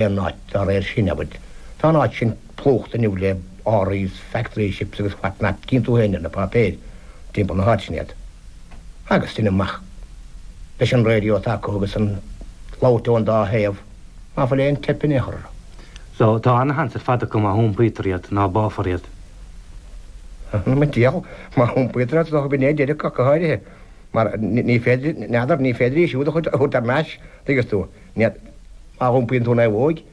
Aon áit dá réir sin, abair. Tá an áit sin plúchta inniu le árthaí is factory ships agus what not, cíonn tú féin ar na páipéir timpeall na háite sin iad. Agus deinim amach leis an radio atá acu agus an labhairt ón dá thaobh, ná fuil aon teip in aon chor orthu. So, tá ana-sheans ar fad acu má hiompaítear iad, ná báfar iad. Mo dhiabhal, má hiompaítear iad, is dócha b'in é deireadh acu go háirithe, mar ní féidir, n'fheadar, ní féidir í siúd a thabhairt thar n-ais, tuigeann tú. Ní. Má iompaíonn tú naomhóig,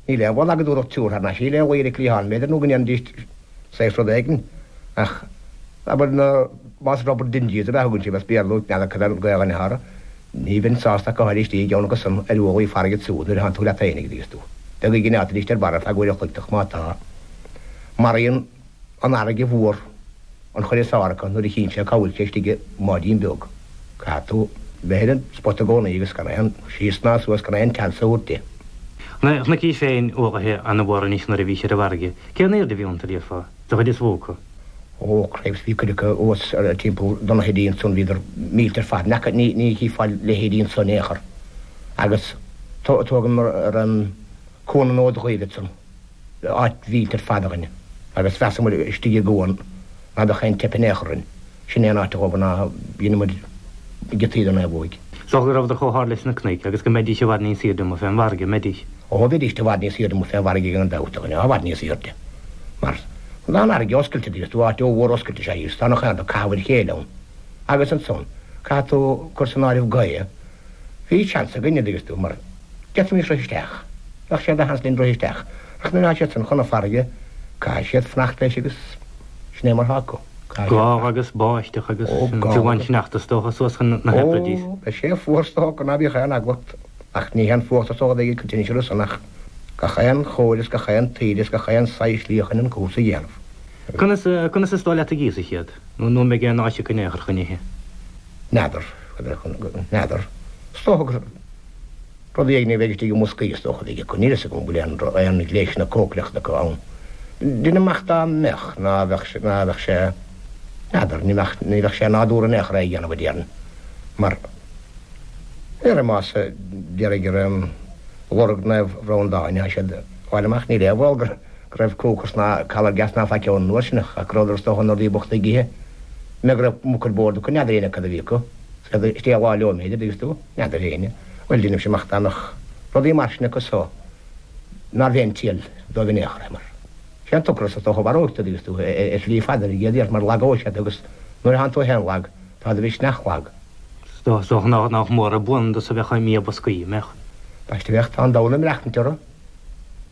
níl aon bhaol agat dúthracht tabhairt thar n-ais í le luí ar an gcliathán, b'fhéidir, nó go ndéanfaidís saghas rud éigin. Ach, abair, na, más rubber dinghies ab ea a thugann sibh as Béarla, n'fheadar cad é an Ghaelainn atá orthu, ní bheinn sásta ach go háirithe istigh i gceann acu san ar ualaí farraige ansiúd nuair atánn tú leat féinig, a dtuigeas tú. Beag a ghrinneáiltear ar barra ar feadh uair an chloig ach má tá, maraíonn an fharraige mhór an chuid is fearr acu nuair a chíonn sé cá bhfuil sé istigh i mbáidín beag. Caithfidh tú bheith ar an spot i gcónaí agus gan aon síos ná suas, gan aon tseans a thabhairt di. Na chnoic féin ualaithe ana-mhór anois nuair a bhís ar an bhfarraige. Cén aoirde a bhí iontu, déarfá, de chuid is mhó acu? Ó, cripes, bhí cuid acu thuas timpeall do na hoidí ansan, bhíodar millte ar fad. N'fheaca, ní, ní chífeá leithéidí ansan in aon chor. Agus tógaim ar an Cuan an Fhóid Dhuibh ansan. Áit mhillte ar fad a dhuine, agus mheasamar istigh i gcuan ná beadh aon teip in aon chor orainn. Sin é an áit a dhóbair ná dheineamair giotaí den naomhóig. Is dócha go rabhadar chomh hard leis na cnoic agus go mbeidís i bhfad níos aoirde amuigh fén bhfarraige, an mbeidís? Ó, bheidís i bhfad níos aoirde amuigh fén bhfarraige gan dabht, a dhuine, i bhfad níos aoirde. Mar tá an fharraige oscailte, dtuigeann tú, áit ollmhór oscailte is ea í, agus tá nach aon rud ag caitheamh ar a chéile ann. Agus ansan, caithfidh tú cur san áireamh gaoth, Bhí seans againne, dtuigeann tú, mar d'fhéadfaimis rith isteach. Bheadh sé de sheans linn rith isteach. Ach nuair atá siad san chun na farraige, caithfidh siad fanacht leis agus sin é mar atá acu. Caithfidh siad Gála agus báisteach agus Ó, gála fiú an sneachta is dócha suas chun na Hebrides. Ó, beidh sé fuar is dócha, ná bíodh aon eagla ort. Ach ní haon fuacht is dócha a bheidh ag an tinneas san ach gach aon chóir is gach aon taoide is gach aon saghas slí chun an cúrsa a dhéanamh. Conas, conas is dóigh leat a dh'íosfaidh siad? Nó, nó an mbeidh aon áis acu in aon chor chun ithe? N'fheadar. N'fheadar. Is dócha gur rudaí éigin a bheidh istigh i mboscaí is dócha a bheidh acu. Níl a fhios agam an bhfuil aon aon ghléasanna cócaireachta acu ann. Deinim amach dá mbeadh, ná bheadh sé, ná bheadh sé, n'fheadar, ní bheadh, ní bheadh sé nádúrtha in aon chor é a dhéanamh a déarfainn. Mar, déarfainn más, déarfainn gur lorg Naomh Bhreandáin atá siad a fháil amach, níl aon bhaol gur, go raibh cookers ná calor gas ná faic ann an uair sin ach go rabhadar is dócha na rudaí bochta ag ithe. Mé go raibh muc ar bord acu, n'fheadar éinne cad a bhí acu. Is istigh a lá leo b'fhéidir, dtuigeann tú, n'fheadar éinne. Bhuel, deinimse amach dá mbeadh rudaí mar sin acu so nárbh aon triail dóibh in aon chor é mar sé an t-ocras is dócha a mharóidh tú, dtuigeann tú, ar shlí fada ar an gcéad iarraidh mar lagóidh sé tú agus nuair a thánn tú féin lag, tá do mhisneach lag. Is dócha nach mór abundance a bheadh i mbia boscaí, an mbeadh? Baiste bheadh, tá an domhan ag maireachtaint orthu.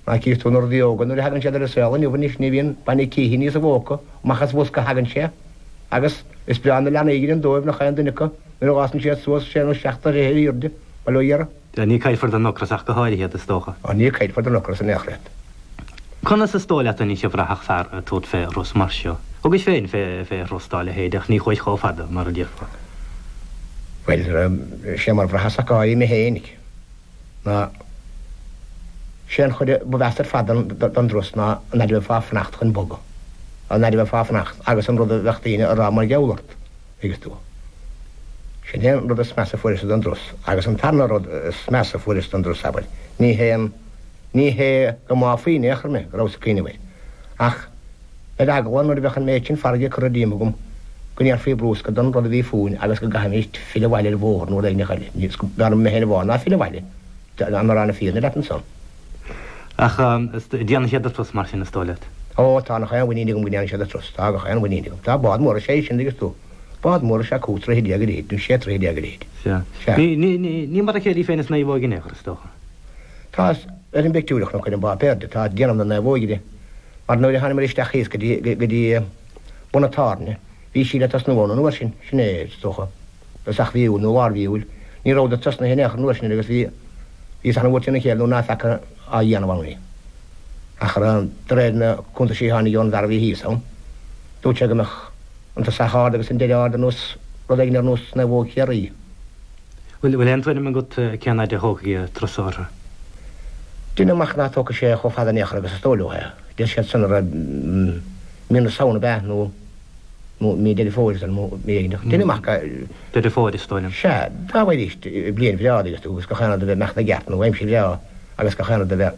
Ná cífidh tú na rudaí óga nuair a thagann siad ar an saol inniu anois ní bhíonn bainne cíche níos a bhóca, amach as bhosca a thagann sé. Agus is breá na leanaí a dheineann dóibh nach aon duine acu nuair a fhásann siad suas sé nó seacht dtroithe ar airde, bail ó Dhia orthu. Ní caillfear den ocras ach go háirithe iad, is dócha. Ó ní caillfear den ocras in aon chor iad. Conas is dóigh leat anois a bhraithfeadh fear ag tabhairt fé thuras mar seo? Thugais féin fé thuras dá leithéid ach ní chuais chomh fada, mar a déarfá. Bhuel, sé mar bhraitheas ach go háirithe mé féinig. ná sé an chuid ba mheasa ar fad den dturas ná an fhaid a bheifeá ag fanacht chun bogadh, an fhaid a bheifeá ag fanacht agus an rud a bheadh daoine a rá mar gheall ort, thuigeas tú. Sin é an rud is measa a fuaireas den dturas. Agus an tarna rud is measa a fuaireas den dturas, abair, ní hé an, ní hé go mbáfaí in aon chor mé, go rabhas ag cuimhneamh air, ach ar eagla nuair a bheadh an méid sin farraige curtha díom agam go ndéarfaí brúscar den rud a bhí fúinn agus go gcaithfimis filleadh abhaile ar bhóthar nó rud éigin eile. Ní b'fhearr mé féin a bhá ná filleadh abhaile, dá mba rá na fírinne leat ansan. Ach déanfaidh siad an turas mar sin, is dóigh leat? Ó, tá gach aon mhuinín agam go ndéanfaidh siad an turas. Tá gach aon mhuinín agam. Tá bád mór is ea é sin, dtuigeann tú. Bád mór is ea 15 troithe a leithéid, nó 16 troithe a leithéid. Sea. Sea. Ní mar a chéile í féin is naomhóig in aon chor, is dócha. Tá, ar an bpictiúr a chonac ar an bpáipéar de, tá déanamh na naomhóige di. Mar nuair a thánamair isteach thíos go dtí, go dtí bun an tábhairne, bhí sí le tosnú ann an uair sin, sin é, is dócha, dtosach mhí Iúil nó lár mhí Iúil. Ní rabhadar tosnaithe in aon chor an uair sin agus bhí, bhíos an-bhuartha trína chéile nuair ná feaca á dhéanamh ann í. Ach de réir na cuntaisí a tháinig ón bhfear a bhí thíos ann, dúirt sé go mbeadh an tosach ard agus an deireadh ard ar nós, rud éigin ar nós naomhóg Chiarraí. Bhfuil aon tuairim agat cén fhaid a thógfaidh an turas orthu? Deinim amach ná tógfaidh sé chomh fada in aon chor agus is dóigh leo é. Deir siad san a raibh mí na Samhna ab ea nó nó mí Deireadh Fómhair san nó mí éigin. Deinim amach go. Deireadh Fómhair is dóigh liom. Sea, dá mbeidís bliain bhreá agus tú agus gach aon rud a bheith amach ina gceart nó aimsir bhreá. agus gach aon rud a bheith.